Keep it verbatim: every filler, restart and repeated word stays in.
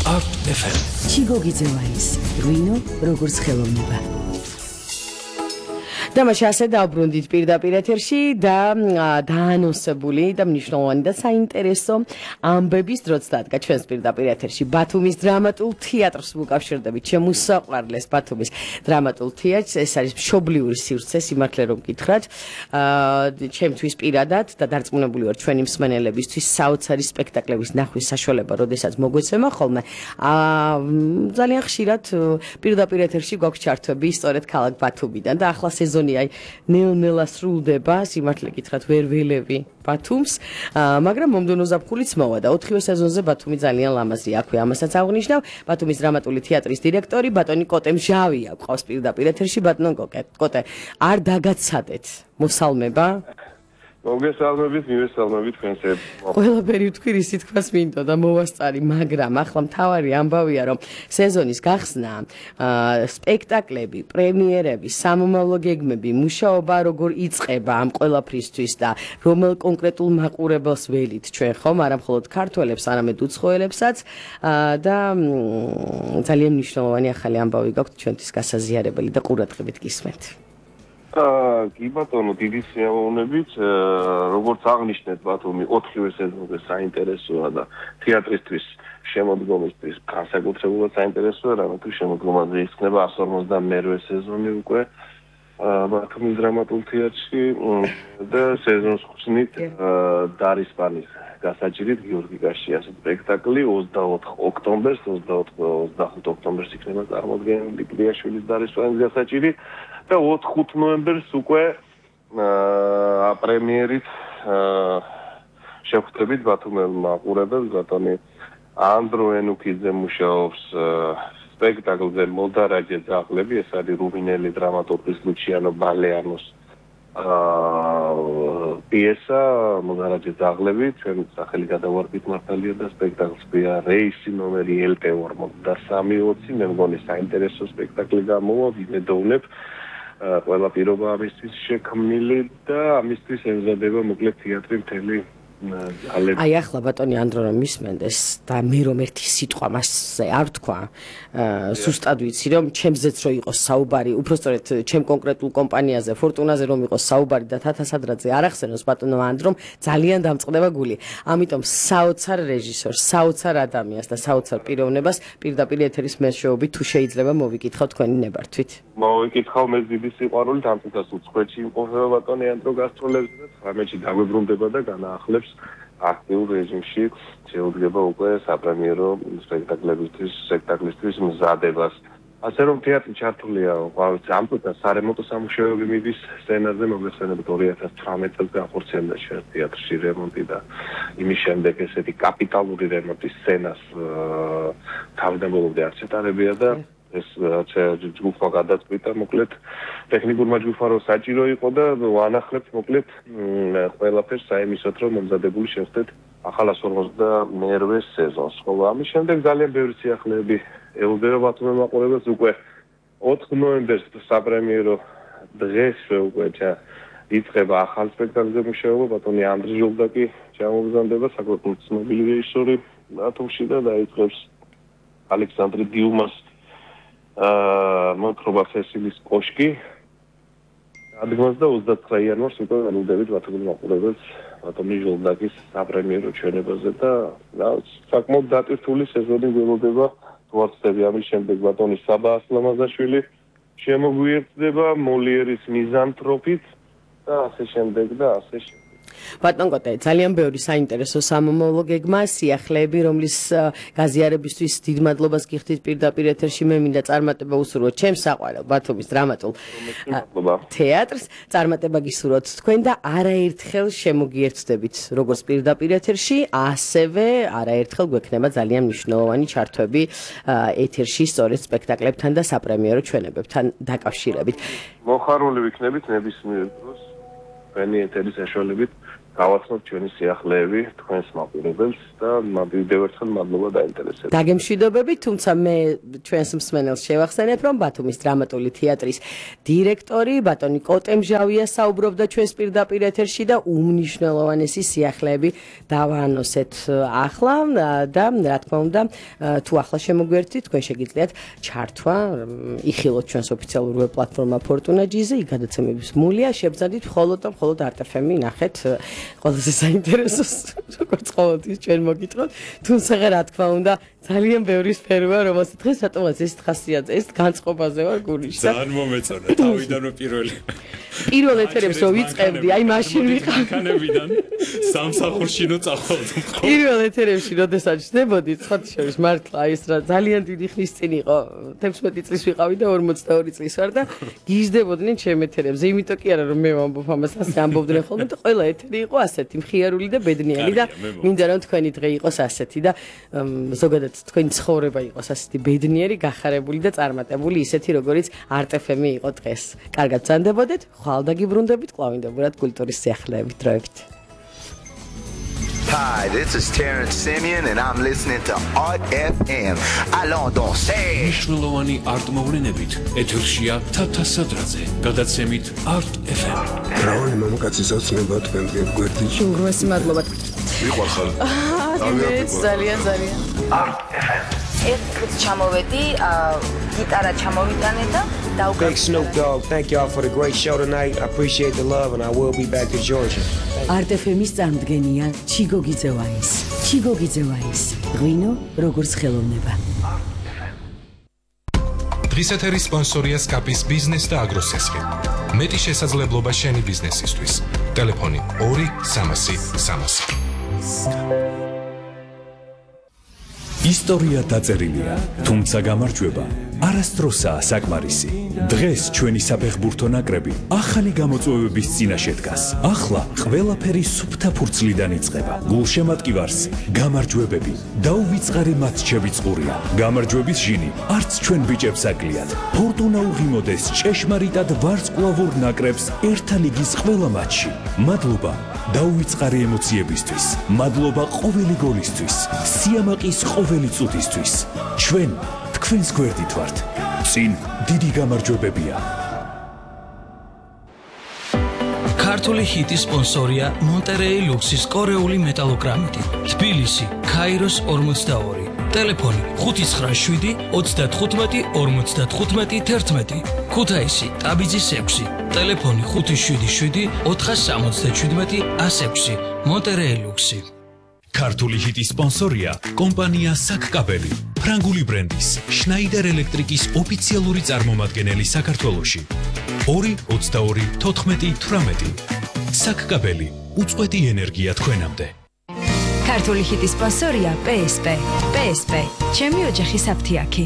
Art эф эм. ჩიგოგიძევაის ღვინო როგორც ხელოვნება. Დამაში ასე დავბრუნდით პირდაპირ ეთერში და დაანონსებული და მნიშვნელოვანი და საინტერესო ამბების დროც დადგა ჩვენს პირდაპირ ეთერში ბათუმის დრამატულ თეატრს ვუკავშირდებით შემოსაყვარლეს ბათუმის დრამატულ თეატრს ეს არის მშობლიური სივრცე სიმართლე რომ გითხრათ ჩემთვის პირადად და დარწმუნებული ვარ ჩვენი მსმენელებისთვის საოცარი სპექტაკლების ნახვის საშუალება როდესაც მოგვეცემა ხოლმე ძალიან ხშირად პირდაპირ ეთერში გვაქვს ჩართვები სწორედ ქალაქ ბათუმიდან და ახლა სეზონი აი ნელ-ნელა სრულდება სიმართლე გითხრათ ვერ ველევი ბათუმს მაგრამ მომდევნო ზაფხულიც მოვა და ოთხივე სეზონზე ბათუმი ძალიან ლამაზია აქვე ამასაც აღნიშნავ ბათუმის დრამატული თეატრის დირექტორი ბატონი კოტე მჟავია ყავს პირდაპირ ეთერში ბატონო კოტე არ დაგაცადეთ მოსალმება მოგესალმებით, მივესალმებით თქვენს ერთ. ყველაფერი თქვი რისი თქმას მინდო და მოვასწარი, მაგრამ ახლა მთავარი ამბავია, რომ სეზონის გახსნა, სპექტაკლები, პრემიერები, სამომავლო გეგმები, მუშაობა როგორ იწყება ამ ყველაფრისთვის და რომელ კონკრეტულ მაყურებელს ველით ჩვენ ხომ, არა მხოლოდ ქართველებს, არამედ უცხოელებსაც და ძალიან მნიშვნელოვანი ახალი ამბავი გაქვთ ჩვენთვის გასაზიარებელი და ყურადღებით გისმენთ. კი ბატონო, დიდი სიამოვნებით, როგორც აღნიშნეთ ბათუმი ოთხივე სეზონზე საინტერესოა და თეატრისთვის შემოდგომისთვის განსაკუთრებულად საინტერესოა, რამე თუ შემოდგომაზე ისხდება εκατს ორმოცდამეერთე სეზონი უკვე ბათუმის დრამატულ თეატრში და სეზონს ხსნით დარისპანის გასაჭირით გიორგი გაშიას სპექტაკლი ოცდაოთხ ოქტომბერს, ოცდახუთ ოქტომბერს იქნება წარმოდგენილი კლიაშვილის დარისპანის გასაჭირი და ოთხ ნოემბერს უკვე პრემიერით შევხვდებით ბათუმელ მაყურებელს ბატონი ანდრო ენუქიძე მუშაობს სპექტაკლზე მოდარაჯე ძაღლები ეს არის რუმინელი დრამატურგის ლუჩიანო ბალეანოს პიესა მოდარაჯე ძაღლები ჩვენ სახელი გადავარდით მართალია და სპექტაკლს ქვია რეისი ნომერი ელ პე ორმოცდასამი ოცი მე მგონი საინტერესო სპექტაკლი გამოვა ვიმედოვნებ ყველა პირობა ამისთვის შექმნილი და ამისთვის ემზადება მოკლედ თეატრი მთელი აი ახლა ბატონი ანდრო რომ მისმენდეს და მე რომ ერთი სიტყვა მასზე არ თქვა სუსტად ვიცი რომ ჩემზეც რო იყოს საუბარი უბრალოდ ჩემ კონკრეტულ კომპანიაზე ფორტუნაზე რომ იყოს საუბარი და თათასადრაძე არ ახსენოს ბატონო ანდრომ ძალიან დამწყდება გული ამიტომ საოცარ რეჟისორს საოცარ ადამიანს და საოცარ პიროვნებას პირდაპირ ეთერის მეშვეობით თუ შეიძლება მოვიკითხავ თქვენი ნებართვით მოვიკითხავ მე დიდი სიყვარულით ამ წუთას უცხოეთში იმყოფება ბატონი ანდრო გასტროლებზე და ცხრამეტში დაგვებრუნდება და განაახლებს აქტიურ რეჟიმში შეუძლება უკვე საპრემიერო სპექტაკლებისთვის, სპექტაკლისთვის მზადებას. ასე რომ თეატრი ჩართულია ამ წუთას სარემონტო სამუშაოები მიდის სცენაზე, მოგესალმებით ორი ათას ცხრამეტ წელს განხორციელდა ჩვენ თეატრში რემონტი და იმის შემდეგ ესეთი კაპიტალური რემონტის სცენას თავდაპირველად არ ჩატარებია და ეს ჯგუფმა გადაწყვიტა მოკლედ ტექნიკურმა ჯგუფმა რომ საჭირო იყო და ვანახლებთ მოკლედ ყველაფერს საიმისოთ რომ მომზადებული შევხვდეთ ახალ εκατს ორმოცდამეერთე სეზონს. ხოლო ამის შემდეგ ძალიან ბევრი სიახლეები ელოდება ბათუმის მაყურებელს უკვე ოთხ ნოემბერს საპრემიერო დღესვე უკვე იწყება ახალ სპექტაკლზე მუშაობა ბატონი ანდრე ჟოლდაკი ჩამოგზავნება საქართველოს ცნობილი რეჟისორი ბათუმში და დაიწყებს ალექსანდრე დიუმას მოთხრობა სესილის კოშკი ადგილს და ოცდაცხრა იანვარს უკვე ველოდებით ბათუმის მაყურებელს ბატონი ჟოლდაკის საპრემიერო ჩვენებაზე და საკმაოდ დატვირთული სეზონი ველოდება თვარწები ამის შემდეგ ბატონი საბა ასლამაზაშვილი შემოგვიერთდება მოლიერის მიზანთროპით და ასე შემდეგ და ასე შემდეგ ბატონ კოტე ძალიან ბევრი საინტერესო სამომავლო გეგმა სიახლეები რომლის გაზიარებისთვის დიდ მადლობას გიხდით პირდაპირ ეთერში მე მინდა წარმატება უსურვოთ ჩემს საყვარელ ბათუმის დრამატულ თეატრს წარმატება გისურვოთ თქვენ და არაერთხელ შემოგიერთდებით როგორც პირდაპირ ეთერში ასევე არაერთხელ გვექნება ძალიან მნიშვნელოვანი ჩართვები ეთერში სწორედ სპექტაკლებთან და საპრემიერო ჩვენებებთან დაკავშირებით მოხარული ვიქნებით ნებისმიერ დროს თქვენი ეთერის საშუალებით გავაცნობთ ჩვენი სიახლეები თქვენს მაყურებელს და მადლიერთან მადლობა დაინტერესებით. დაგემშვიდობებით, თუმცა მე ჩვენს მსმენელს შევახსენებ, რომ ბათუმის დრამატული თეატრის დირექტორი ბატონი კოტემჟავია საუბრობდა ჩვენს პირდაპირ ეთერში და უმნიშვნელოვანესი სიახლეები დავაანონსეთ ახლა და რა თქმა უნდა, თუ ახლა შემოგვერთით, თქვენ შეგიძლიათ ჩართვა, იხილოთ ჩვენს ოფიციალურ ვებ პლატფორმა Fortuna G-ზე, იქ გადაცემების მულია, შევძანდით მხოლოდ და მხოლოდ არტ ეფ ემი ნახეთ ყველაზე საინტერესოს, როგორც ყოველთვის ჩვენ მოგიტყოთ, თუმცა რა თქმა უნდა, ძალიან ბევრი სფეროა, რომელსაც დღეს რატომაც ეს ხასიათზე, ეს განწყობაზე ვარ გულიშსა. ძალიან მომეწონა, თავიდანვე პირველი. პირველ ეთერებს რო ვიწყებდი, აი მაშინ ვიყავ. კანებიდან სამსახურში რო წავალდი. პირველ ეთერებში როდესაც ჩნდებოდი, სხვა შორის მართლა აი ეს რა ძალიან დიდი ხნის წინ იყო, თექვსმეტი წლის ვიყავი და ორმოცდაორი წლის ვარ და გიждდებოდნენ ჩემ ეთერებზე, იმიტომ კი არა რომ მე ვამბობ ამას, ასე ამბობდნენ ხოლმე და ყველა ეთერი იყო ასეთი, მხიარული და ბედნიერი და მინდა რომ თქვენი დღე იყოს ასეთი და ზოგადად თქვენი ცხოვრება იყოს ასეთი ბედნიერი, გახარებული და წარმატებული, ისეთი როგორიც არტ ეფ ემი იყო დღეს. კარგად ბრძანდებოდეთ, ხვალ დაგიბრუნდებით, კლავინდებურად კულტურის სიახლეებით დროებით. Hi, this is Terrence Simeon and I'm listening to Art ეფ ემ. Allons danser. მნიშვნელოვანი არტ მოვლენებით ეთერშია თათა სადრაძე, გადაცემით არტ ეფ ემ. რავი მამაკაცის ოცნება თქვენ გვერდიში. უგროსი მადლობა. მიყვარხარ. აა, ძალიან ძალიან. Art ეფ ემ. ეს წუთი ჩამოვედი, გიტარა ჩამოვიტანე და Big Snoop Dogg, thank y'all for the great show tonight. I appreciate the love and I will be back to Georgia. არტ ეფ ემის წარმოდგენია ჩიგო გიძევაის. ჩიგო გიძევაის. ღვინო როგორც ხელოვნება. დღის ეთერის სპონსორია სკაპის ბიზნეს და აგროსესხი. მეტი შესაძლებლობა შენი ბიზნესისთვის. ტელეფონი ორი სამასი სამასი. ისტორია დაწერილია, თუმცა გამარჯვება არასდროსაა საკმარისი. დღეს ჩვენი საფეხბურთო ნაკრები ახალი გამოწვევების წინაშე დგას. ახლა ყველაფერი სუფთა ფურცლიდან იწყება. გულშემატკივარს გამარჯვებები და უვიწყარი მატჩები წყურია. გამარჯვების ჟინი არც ჩვენ ბიჭებს აკლიათ. ფორტუნა უღიმოდეს ჭეშმარიტად ვარსკვლავურ ნაკრებს ერთა ლიგის ყველა მატჩში. მადლობა დაუვიწყარი ემოციებისთვის. მადლობა ყოველი გოლისთვის. სიამაყის ყოველი წუთისთვის. ჩვენ თქვენს გვერდით ვართ. წინ დიდი გამარჯვებებია. ქართული ჰიტის სპონსორია მონტერეი ლუქსის კორეული მეტალოგრამიტი. თბილისი, ქაიროს ორმოცდაორი. ტელეფონი ხუთი ცხრა შვიდი ოცდათხუთმეტი ორმოცდათხუთმეტი თერთმეტი. ქუთაისი, ტაბიძის ექვსი. ტელეფონი ხუთი შვიდი შვიდი ოთხასამოცდაჩვიდმეტი ასექვსი. მონტერეი ლუქსი. ქართული ჰიტის სპონსორია კომპანია საკკაბელი. ფრანგული ბრენდის შნაიდერ ელექტრიკის ოფიციალური წარმომადგენელი საქართველოში. ორი ოცდაორი თოთხმეტი თვრამეტი. საკკაბელი, უწყვეტი ენერგია თქვენამდე. ქართული ჰიტის სპონსორია პე ეს პე. პე ეს პე. ჩემი ოჯახის აფთიაქი.